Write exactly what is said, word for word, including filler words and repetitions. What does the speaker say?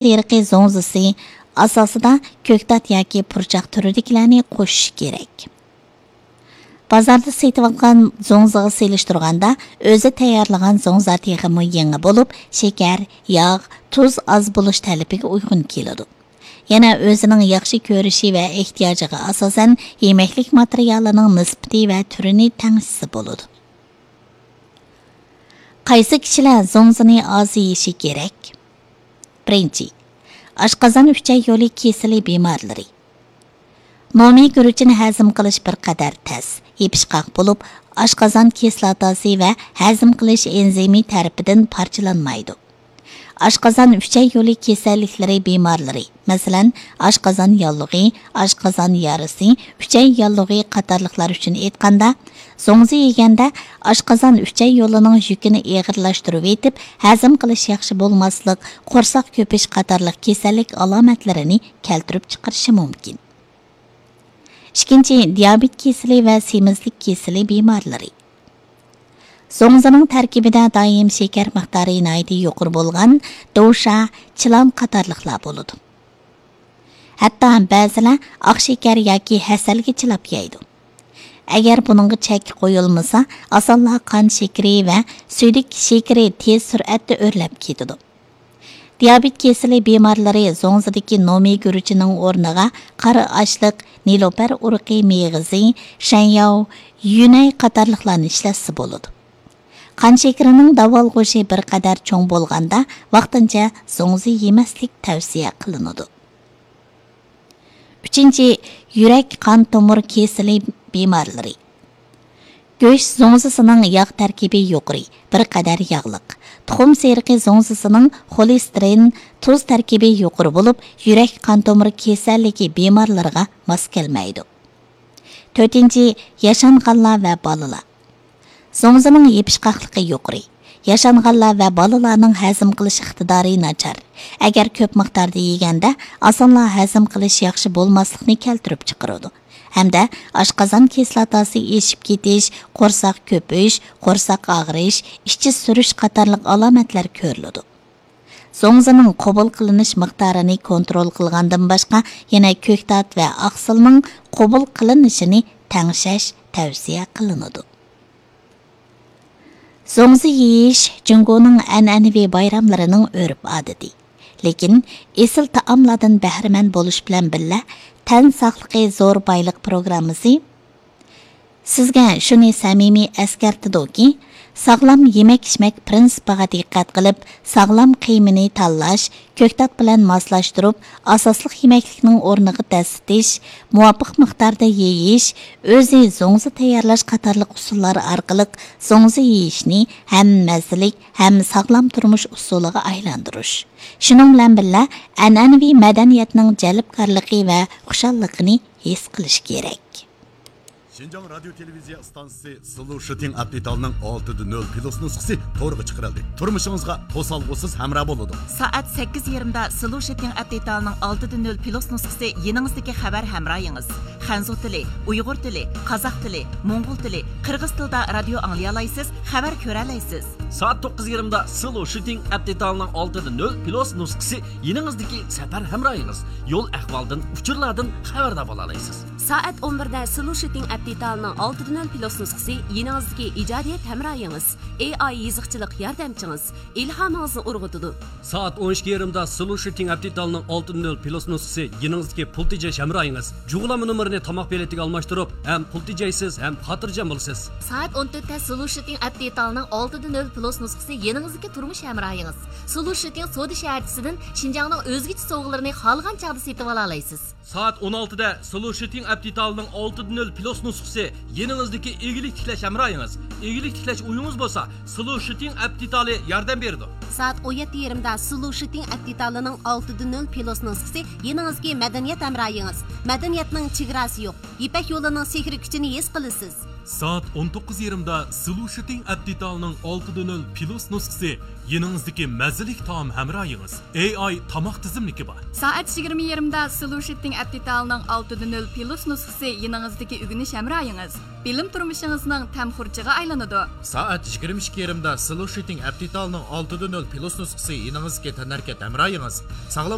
سېرىقى زوڭزىسى ئاساسىدا كۆكتات ياكى پۇرچاق تۈرىدىكىلەرنى قوشۇش كېرەك. بازاردا سېتىۋالغان زوڭزىغا سېلىشتۇرغاندا، ئۆزى تەييارلىغان زوڭزا تېخىمۇ يېڭى بولۇپ، شېكەر، ياغ، تۇز ئاز بولۇش تەلىپىگە ئۇيغۇن كېلىدۇ. يەنە ئۆزىنىڭ ياخشى كۆرۈشى ۋە ئېھتىياجىغا ئاساسەن، يېمەكلىك ماتېرىيالىنىڭ نىسبىتى ۋە تۈرىنى تەڭشىسە بولىدۇ. قايسى كىشىلەر زوڭزىنى ئاز يېيىشى كېرەك؟ بىرىنچى، ئاشقازان ئۈچەي يولى كېسىلى بىمارلىرى. نومى گۈرۈچىنى ھەزىم قىلىش بىر قەدەر تەس، يېپىشقاق بولۇپ، ئاشقازان كىسلاتاسى ۋە ھەزىم قىلىش ئېنزىمى تەرىپىدىن پارچىلانمايدۇ. ئاشقازان ئۈچەي يولى كېسەللىكلىرى بىمارلىرى، مەسىلەن، ئاشقازان ياللۇغى، ئاشقازان يارىسى، ئۈچەي ياللۇغى قاتارلىقلار ئۈچۈن ئېيتقاندا، زوڭزا يېگەندە ئاشقازان ئۈچەي يولىنىڭ يۈكىنى ئېغىرلاشتۇرۇۋېتىپ، ھەزىم قىلىش ياخشى بولماسلىق، قورساق كۆپۈش قاتارلىق كېسەللىك ئالامەتلىرىنى كەلتۈرۈپ چىقىرىشى مۇمكىن. ئىككىنچى، دىيابېت كېسىلى ۋە سېمىزلىك كېسىلى بىمارلىرى. زوڭزىنىڭ تەركىبىدە دائىم شېكەر مىقدارى ناھايىتى يۇقىرى بولغان دوشا، چىلان قاتارلىقلار بولىدۇ. ھەتتا بەزىلەر ئاق شېكەر ياكى ھەسەلگە چىلاپ يەيدۇ. ئەگەر بۇنىڭغا چەك قويۇلمىسا، ئاسانلا قان شېكىرى ۋە سۈيدۈك شېكىرى تېز سۈرئەتتە ئۆرلەپ كېتىدۇ. دىيابېت كېسىلى بىمارلىرى زوڭزىدىكى نومى گۈرۈچىنىڭ ئورنىغا قارا ئاشلىق، نېلۇپەر ئۇرۇقى مېغىزى، شەنياۋ، يۈنەي قاتارلىقلارنى ئىشلەتسە بولىدۇ. قان شېكىرىنىڭ داۋالغۇشى بىر قەدەر چوڭ بولغاندا، ۋاقتىنچە زوڭزا يېمەسلىك تەۋسىيە قىلىنىدۇ. ئۈچىنچى، يۈرەك، قان تومۇر كېسىلى بىمارلىرى. گۆش زوڭزىسىنىڭ ياغ تەركىبى يۇقىرى، بىر قەدەر ياغلىق. تۇخۇم سېرىقى زوڭزىسىنىڭ خولېستېرىن، تۇز تەركىبى يۇقىرى بولۇپ، يۈرەك، قان تومۇر كېسەللىكى بىمارلىرىغا ماس كەلمەيدۇ. تۆتىنچى، ياشانغانلار ۋە بالىلار. زوڭزىنىڭ يېپىشقاقلىقى يۇقىرى. ياشانغانلار ۋە بالىلارنىڭ ھەزىم قىلىش ئىقتىدارى ناچار. ئەگەر كۆپ مىقداردا يېگەندە، ئاسانلا ھەزىم قىلىش ياخشى بولماسلىقنى كەلتۈرۈپ چىقىرىدۇ. ھەمدە ئاشقازان كىسلاتاسى ئېشىپ كېتىش، قورساق كۆپۈش، قورساق ئاغرىش، ئىچى سۈرۈش قاتارلىق ئالامەتلەر كۆرۈلىدۇ. زوڭزىنىڭ قوبۇل قىلىنىش مىقدارىنى كونترول قىلغاندىن باشقا، يەنە كۆكتات ۋە ئاقسىلنىڭ قوبۇل قىلىنىشىنى تەڭشەش تەۋسىيە قىلىنىدۇ. زوڭزا يېيىش جۇڭگونىڭ ئەنئەنىۋى بايراملىرىنىڭ ئۆرپ-ئادىتى. لېكىن ئېسىل تائاملاردىن بەھرىمەن بولۇش بىلەن بىللە، تەن ساقلىقى زور بايلىق پروگراممىسى سىزگە شۇنى سەمىمىي ئەسكەرتىدۇكى، ساغلام يېمەك-ئىچمەك پىرىنسىپىغا دىققەت قىلىپ، ساغلام قىيمىنى تاللاش، كۆكتات بىلەن ماسلاشتۇرۇپ، ئاساسلىق يېمەكلىكنىڭ ئورنىغا دەسسىتىش، مۇۋاپىق مىقداردا يېيىش، ئۆزى زوڭزا تەييارلاش قاتارلىق ئۇسۇللار ئارقىلىق زوڭزا يېيىشنى ھەم مەززىلىك، ھەم ساغلام تۇرمۇش ئۇسۇلىغا ئايلاندۇرۇش. شۇنىڭ بىلەن بىللە، ئەنئەنىۋى مەدەنىيەتنىڭ جەلپكارلىقى ۋە خۇشاللىقىنى ھېس قىلىش كېرەك. شىنجاڭ رادىيو تېلېۋىزىيە ئىستانسىسى سلوشىتىڭ ئەپ دېتالىنىڭ ئالتىدە نۆل پلۇس نۇسخىسى تورغا چىقىرىلدى. تۇرمۇشىڭىزغا توسالغۇسىز ھەمراھ بولىدۇ. سائەت سەككىز يېرىمدا سلوشىتىڭ ئەپ دېتالىنىڭ ئالتىدە نۆل پلۇس نۇسخىسى يېنىڭىزدىكى خەۋەر ھەمراھىڭىز. خەنزۇ تىلى، ئۇيغۇر تىلى، قازاق تىلى، موڭغۇل تىلى، قىرغىز تىلىدا رادىيو ئاڭلىيالايسىز، خەۋەر كۆرەلەيسىز. سائەت توققۇز يېرىمدا سلوشىتىڭ ئەپ دېتالىنىڭ ئالتىدە نۆل پلۇس نۇسخىسى يېنىڭىزدىكى سەپەر ھەمراھىڭىز. يول ئەھۋالدىن، ئۇچۇرلاردىن خەۋەردار بولالايسىز. سائەت ئون بىردە سلوشىتىڭ ئەپ دېتالىنىڭ ئالتىدە نۆل پلۇس نۇسخىسى يېنىڭىزدىكى ئىجادىيەت ھەمراھىڭىز، ئېي ئاي يېزىقچىلىق ياردەمچىڭىز، ئىلھامىڭىزنى ئۇرغۇتىدۇ. سائەت ئون ئىككى يېرىمدا سلوشىتىڭ ئەپ دېتالىنىڭ ئالتىدە نۆل پلۇس نۇسخىسى يېنىڭىزدىكى پۇل تېجەش ھەمراھىڭىز. جۇغلانما نومۇرىنى تاماق بېلىتىگە ئالماشتۇرۇپ، ھەم پۇل تېجەيسىز، ھەم خاتىرجەم بولىسىز. سائەت ئون تۆتتە سلوشىتىڭ ئەپ دېتالىنىڭ ئالتىدە نۆل پلۇس نۇسخىسى يېنىڭىزدىكى تۇرمۇش ھەمراھىڭىز. سلوشىتىڭ سودا شەھەرچىسىدىن شىنجاڭنىڭ ئۆزگىچە سوۋغىلىرىنى خالىغان چاغدا سېتىۋالالايسىز. سائەت ئون ئالتىدە سلوشىتىڭ ئەپ دېتالىنىڭ ئالتىدە نۆل پلۇس نۇسخىسى يېنىڭىزدىكى ئىگىلىك تىكلەش ھەمراھىڭىز. ئىگىلىك تىكلەش ئويىڭىز بولسا، سلوشىتىڭ ئەپ دېتالى ياردەم بېرىدۇ. سائەت ئون يەتتە يېرىمدا سلوشىتىڭ ئەپ دېتالىنىڭ ئالتىدە نۆل پلۇس نۇسخىسى يېنىڭىزدىكى مەدەنىيەت ھەمراھىڭىز. مەدەنىيەتنىڭ چېگراسى يوق. يىپەك يولىنىڭ سېھرىي كۈچىنى ھېس قىلىسىز. سائەت ئون توققۇز يېرىمدا سلۇشىتىڭ ئەپ دېتالىنىڭ ئالتىدە نۆل پلۇس نۇسخىسى يېنىڭىزدىكى مەززىلىك تائام ھەمراھىڭىز. ئېي ئاي تاماق تىزىملىكى بار. سائەت يىگىرمە يېرىمدا سلۇشىتىڭ ئەپ دېتالىنىڭ ئالتىدە نۆل پلۇس نۇسخىسى يېنىڭىزدىكى ئۆگىنىش ھەمراھىڭىز. بىلىم تۇرمۇشىڭىزنىڭ تەم خۇرجىنىغا ئايلىنىدۇ. سائەت يىگىرمە ئىككى يېرىمدا سلۇشىتىڭ ئەپ دېتالىنىڭ ئالتىدە نۆل پلۇس نۇسخىسى يېنىڭىزدىكى تەنھەرىكەت ھەمراھىڭىز. ساغلام